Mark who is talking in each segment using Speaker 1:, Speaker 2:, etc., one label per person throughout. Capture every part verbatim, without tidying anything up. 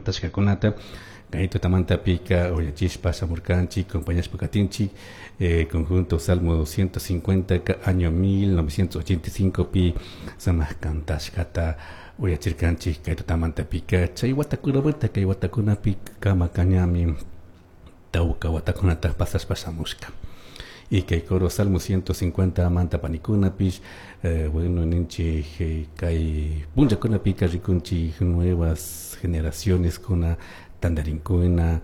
Speaker 1: Cantashkakunata kay tutamantapika uyachishpa shamurkanchik, acompañashpa katinchik eh, conjunto Salmo ciento cincuenta ka año mil novecientos ochenta y cinco pi sumak cantashkata uyachirkanchik kay tutamantapika. Chay watakunamanta kay watakunapi kama kañami tawka watakunata pasashpa shamushka. Y kay coro Salmo ciento cincuenta manta panikunapish, eh, bueno, ninchik, eh, kay punllakunapika rikunchik nuevas generaciones kuna tantarinkuna,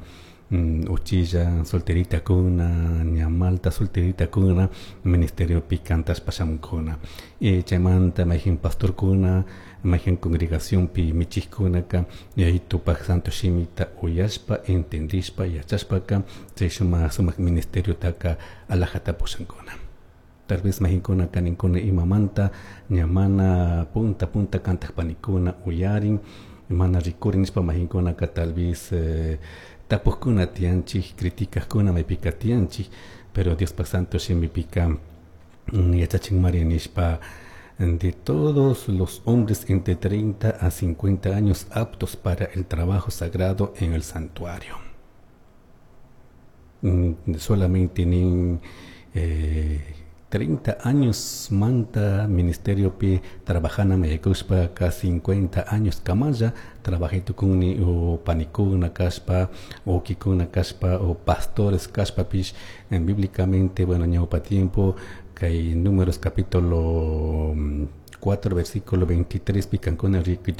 Speaker 1: mm, uchilla solteritakuna, ña malta solteritakuna ministeriopi cantashpa shamunkuna. Y chaymanta mayjin pastorkuna, mayjin congregacionpi michikkunaka Yayitupak santo shimita uyashpa, entendishpa, yachashpaka chay sumak sumak ministeriotaka alajata pushankuna. Tal vez mayjinkuna kaninkuna imamanta ña mana punta punta kantak panikuna uyarin, mana rikurin nishpa mayjinkunaka tal vez eh, tapukkuna tiyanchik, criticajkuna maypika tiyanchik, pero Diospak santo shimipika mm, yachachinmari nishpa: de todos los hombres entre treinta a cincuenta años aptos para el trabajo sagrado en el santuario. Mm, solamente nin eh, treinta años manta ministerio pi trabajana mayaykushpa ka cincuenta años kamalla trabajay tukunni o panikuna kashpa, ukikuna kashpa o pastores kashpapish. En bíblicamente, bueno, ñawpa tiempo kay Números capítulo cuatro versículo veintitrés pi kankuna rikuy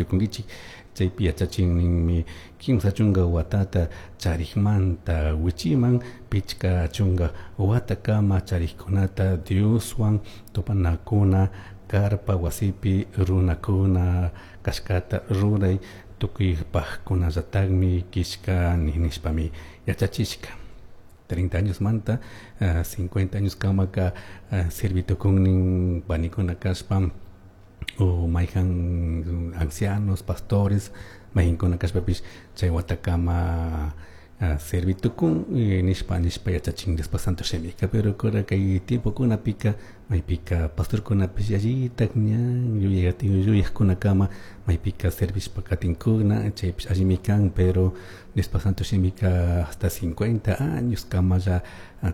Speaker 1: chaypi yachachin ninmi kimsa chunka watata charikmanta wichiman pichka chunka watakama charikkunata Dioswan tupanakuna carpa wasipi runakuna kashkata ruray tukuypajkunallatakmi kishka nishpami yachachishka. treinta años manta uh, cincuenta años kamaka uh, servitukunnin panikuna kashpa o mayjan ancianos, pastores mayjinkuna kashpapish chay watakama uh, servitukun nishpa nishpa yachachin Diospa santo shimika. Pero kura kay tiempokunapika maypika pastorkunapish yallitak ña yuyakkunakama maypika servishpa katinkuna. Chaypish allimi kan, pero Diospa santo shimika hasta cincuenta años kamalla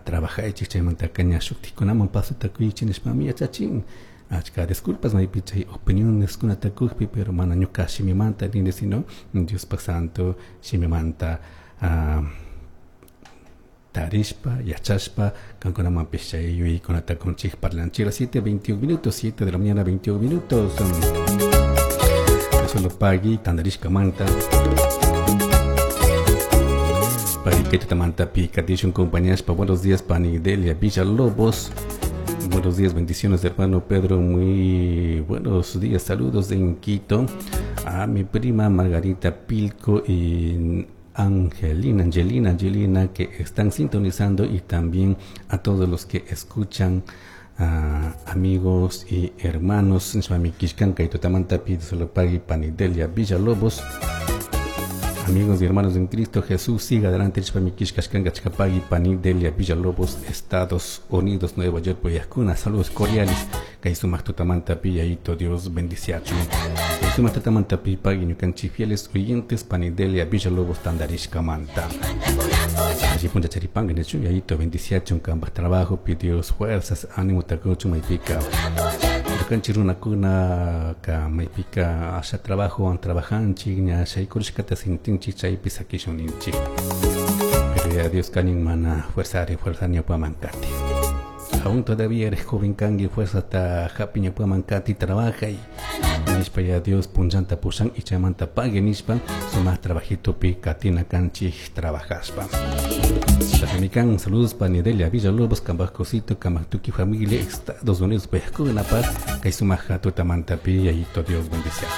Speaker 1: trabajaychik, chaymantaka ña shuktikunaman pasota kuychik nishpami yachachin. Achka disculpas maypi chay opiniones kunata kukpi, pero mana ñuka shimimanta nini, sino Diospa santo shimimanta uh, tarishpa, yachashpa kankunamanpish chay yuyaykunata kunchik parlanchik. Las siete veintiuno minutos, siete de la mañana veintiuno minutos. Solo pagui tantarishkamanta. Pagui kay tutamantapi katishun compañashpa. Buenos días, pani Delia Villalobos. Buenos días, bendiciones, hermano Pedro. Muy buenos días, saludos en Quito a mi prima Margarita Pilco y Angelina, Angelina, Angelina, que están sintonizando y también a todos los que escuchan, uh, amigos y hermanos. Solo pagui pani Delia Villalobos. Amigos y hermanos en Cristo Jesús, siga adelante. Pagui pani Delia Villalobos, Estados Unidos, Nueva York, Poyascuna. Saludos cordiales. Kay sumak tutamantapi, Yayito Dios bendiciachun. Kay sumak tutamantapi pagui ñukanchik fieles oyentes pani Delia Villalobos tandarishkamanta. Allí puncha charipanga nechu, Yayito bendiciachun kambaj trabajo, pidió fuerzas, ánimo takuchun maypika. Ñukanchik runakuna ka maypika asha trabajo an trabajanchik ña shaykurishkata sintinchik chaypi sakishun ninchik. Pero ya Dios kanin mana fuerzari fuerza ñawpaman kati. Aún todavía eres joven kanki, fuerza ta hapi ñawpaman kati, trabaja y nishpa ya Dios punchanta pushan y chaymanta pague nishpa sumak trabajito pi katina kanchik trabajashpa. Chashamikan saludos pani Delia Villalobos kambaj cosito kambaj tuki familia Estados Unidos paykunapak kay sumak tutamantapi Yayito Dios bendiciachun.